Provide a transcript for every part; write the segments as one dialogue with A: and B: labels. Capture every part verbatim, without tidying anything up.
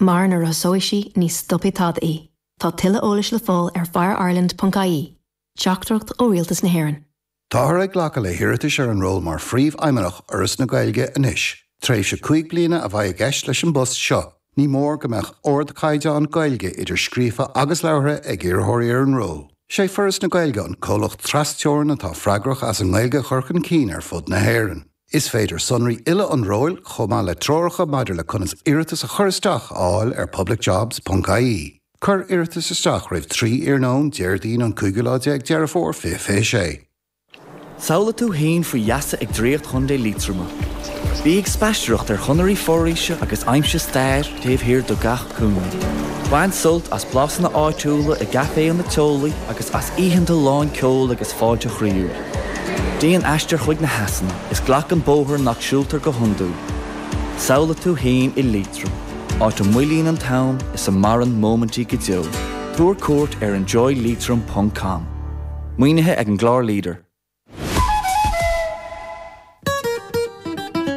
A: Mar nuair a thosóidh sí ní stopfaidh tada í. Tá tuilleadh eolais le fáil ar fireireland.ie, Teachtaireacht ó Rialtas na hÉireann.
B: Táthar ag glacadh le hiarratais ar an ról mar phríomhfheidhmeannach Fhoras na Gaeilge anois. Tréimhse cúig bliana a bheidh i gceist leis an bpost seo. Ní mór go mbeadh ardchaighdeán Gaeilge idir scríofa agus labhartha ag iarrthóirí ar an ról. Sé Foras na Gaeilge an comhlacht trasteorann atá freagrach as an nGaeilge a chur chun cinn ar fud na hÉireann. Is féidir sonraí uile an róil chomh maith le treoracha maidir le conas iarratas a chur isteach a fháil ar publicjobs.ie. Cuir iarratas isteach roimh trí iarnóin Déardaoin an cúigiú lá déag Deireadh Fómhair fiche fiche sé.
C: Samhlaigh tú féin faoi gheasa ag Draíocht Chontae Liatroma. Bí ag spaisteoireacht ar chonairí foraoise agus aimsigh stair taobh thiar de gach cúinne. Bain sult as blasanna áitiúla i gcaiféanna teolaí agus as oícheanta lán ceoil agus fáilte chroíúil. Déan aistear chuig na heasanna is glac an bóthar nach siúltar go hiondúil. Samhlaigh tú féin i Liatroim, áit a moillíonn an t-am is a maireann móimintí go deo. Tabhair cuairt ar enjoyleitrim.com. Maoinithe ag an gclár Leader.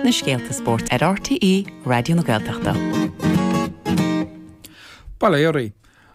D: Na scéalta spóirt ar RTÉ Raidió na Gaeltachta.
E: Bail ó Dhia oraibh.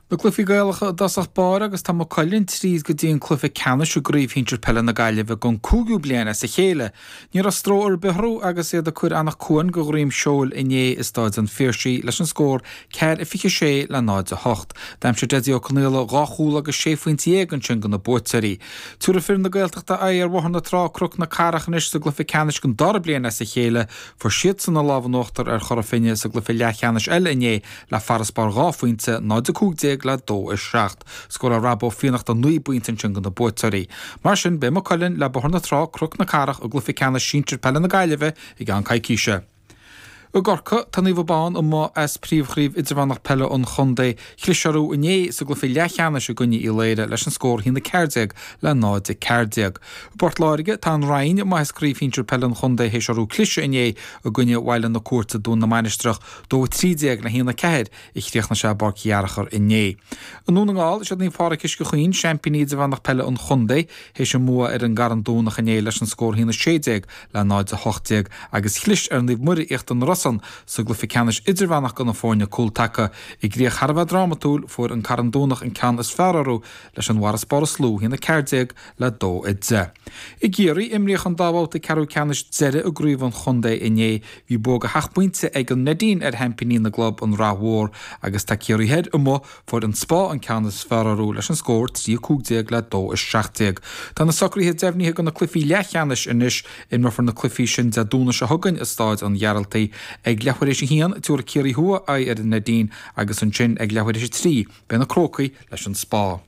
E: Na cluichí Gaelacha i dtosach báire agus tá Maigh Cuilinn tríd go dtí an cluiche ceannais i gCraobh Shinsir Peile na Gaillimhe don cúigiú bliain as a chéile. Ní raibh stró ar bith orthu agus iad ag cur Anach Cuain go dhroim seoil inné i Stáid an Phiarsaigh leis an scór ceathair a fiche sé le náid a hocht. D'aimsigh Dessie Ó Conaola dhá chúl agus sé phointe dhéag ansin do na buaiteoirí. Tabharfaidh fir na Gaeltachta aghaidh ar Bhóthar na Trá Cnoc na Cathrach anois sa gcluiche ceannais don dara bliain as a chéile. Fuair siadsan an lámh in uachtar ar Chora Finne sa gcluiche leathcheannais eile inné le farasbarr dhá phointe, náid a cúig déag le dó a seacht. Scóráil Rob Ó Fiannachta naoi bpointe ansin do na buaiteoirí. Mar sin, beidh Maigh Cuilinn le Bóthar na Trá, Cnoc na Cathrach i gcluiche ceannais sinsir peile na Gaillimhe i gceann coicíse. I gCorcaigh, tá Naomh Abán amuigh as príomhchraobh idirmheánach peile an chontae. Chlis orthu inné sa gcluiche leathcheannais i gcoinne Uí Laoire leis an scór a haon a ceathair déag le náid a ceathair déag. I bPort Láirge, tá an Rinn amuigh as craobh shinsir peile an chontae théis orthu cliseadh inné i gcoinne Bhaile na Cúirte Dún na Mainistreach, dó a trí déag le haon a ceathair a chríochnaigh sé i bPáirc Fhearchair inné. I nDún na nGall, is iad Naomh Pádraig Uisce Chaoin, seaimpíní idirmheánach peile an chontae, théis a mbua ar an gCarn Domhnach inné leis an scór a haon a sé déag le náid a hocht déag agus chlis ar Naomh Muire Íochtar na Rosann sa gcluiche ceannais idirmheánach do na foirne cúltaca. I gcríoch thar a bheith drámatúil, fuair an Carn Domhnach an ceann is fearr orthu leis an bhfarasbarr is lú, a haon a ceathair déag le dó a deich. I gCiarraí, imríodh an dá bhabhta ceathrú ceannais deiridh i gcraobh an chontae inné. Bhí bua de sheacht bpointe ag an Neidín ar sheaimpíní na gclub, an Rath Mhór, agus tá Ciarraí Thoir amuigh, fuair an Spá an ceann is fearr orthu leis an scór trí a cúig déag le dó a seacht déag. Tá na socruithe deimhnithe do na cluichí leathcheannais anois. Imreofar na cluichí sin Dé Domhnaigh seo chugainn i Stáid an Ghearaltaigh. Ag leathuair théis a haon, tabharfaidh Ciarraí Thuaidh aghaidh ar an Neidín agus ansin ag leathuair théis a trí, beidh na Crócaigh leis an Spá.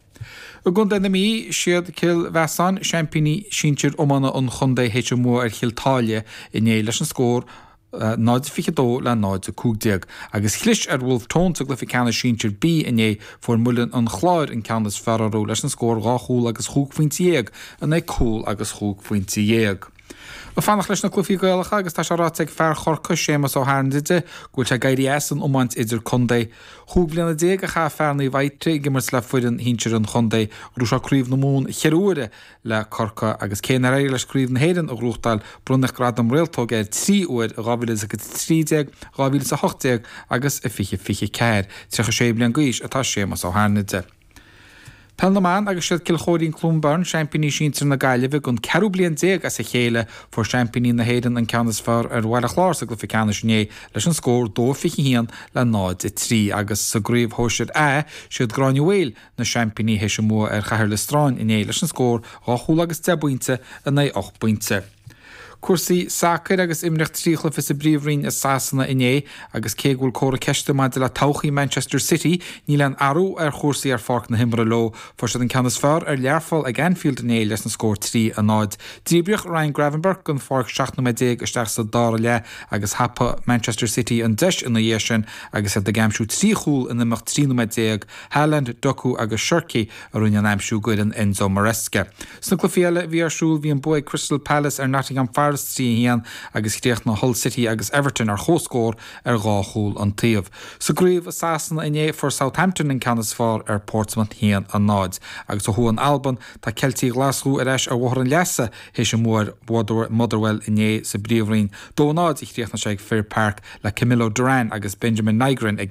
E: I gContae na Mí, siad Cill Mheasáin, seaimpíní sinsir iomána an chontae théis a mbua ar Chill tSáile inné leis an scór náid fiche dó le náid a cúig déag. Agus chlis ar Bhulf Tón sa gcluiche ceannais sinsir B inné, fuair Muileann an Chláir an ceann is fearr orthu leis an scór dhá chúl agus chúig phointe dhéag in aghaidh cúl agus chúig phointe dhéag. Ag fanacht leis na cluichí Gaelacha agus tá sé ráite ag fear Chorcaí, Séamus Ó hAirnide, go bhfuil sé ag éirí as an iomáint idir-contae. Chúig bliana déag a chaith fear Naomh Fhaightri ag imirt le foireann shinsir an chontae. Ghnóthaigh sé Craobh na Mumhan cheithre huaire le Corcaigh agus cé nár éirigh leis Craobh na hÉireann a ghnóthachtáil, bronnadh gradam réaltóg air trí huair i dhá mhíle is a trí déag, dhá mhíle is a hocht déag agus i fiche fiche ceathair. Tríocha sé bliain d'aois atá Séamus Ó hAirnide. Peil na mBan agus siad Cill Chóirín Cluain Bheirn seaimpíní sinsir na Gaillimhe don ceathrú bliain déag as a chéile. Fuair seaimpíní na hÉireann an ceann is fearr ar Bhaile Chláir sa gcluiche ceannais inné leis an scór dó fiche haon le náid a trí agus sa gcraobh shóisir A siad Gráinne Mhaol na seaimpíní théis a mbua ar Chathair Loistreáin inné leis an scór dhá chúl agus deich bpointe in aghaidh ocht bpointe. Cúrsaí sacair agus imríodh trí chluiche sa bPríomhroinn i Sasana inné agus cé go bhfuil comhartha ceiste maidir le todhchaí Manchester City, níl aon athrú ar chúrsaí ar pháirc na himeartha leo. Fuair siad an ceann is fearr ar Learpholl ag Anfield inné leis an scór trí a náid. Díbríodh Ryan Gravenberch den pháirc seacht nóiméad déag isteach sa dara leath agus thapaigh Manchester City an deis ina dhiaidh sin agus iad ag aimsiú trí chúl in imeacht trí nóiméad déag. Haaland, Doku agus Cherki a rinne an aimsiú d'fhoireann Enzo Maresca. Sna cluichí eile a bhí ar siúl bhí an bua ag Crystal Palace ar Nottingham Forest trí a haon agus chríochnaigh Hull City agus Everton ar comhscór ar dhá chúl an taobh. Sa gcraobh i Sasana inné fuair Southampton an ceann is fearr ar Portsmouth haon a náid. Agus ó thuaidh in Albain tá Ceiltigh Ghlaschú ar ais ar bhóthar an leasa théis a mbua ar Motherwell inné sa bPríomhroinn. Dó a náid a chríochnaigh sé ag Fir Park le Camilo Duran agus Benjamin Nygren ag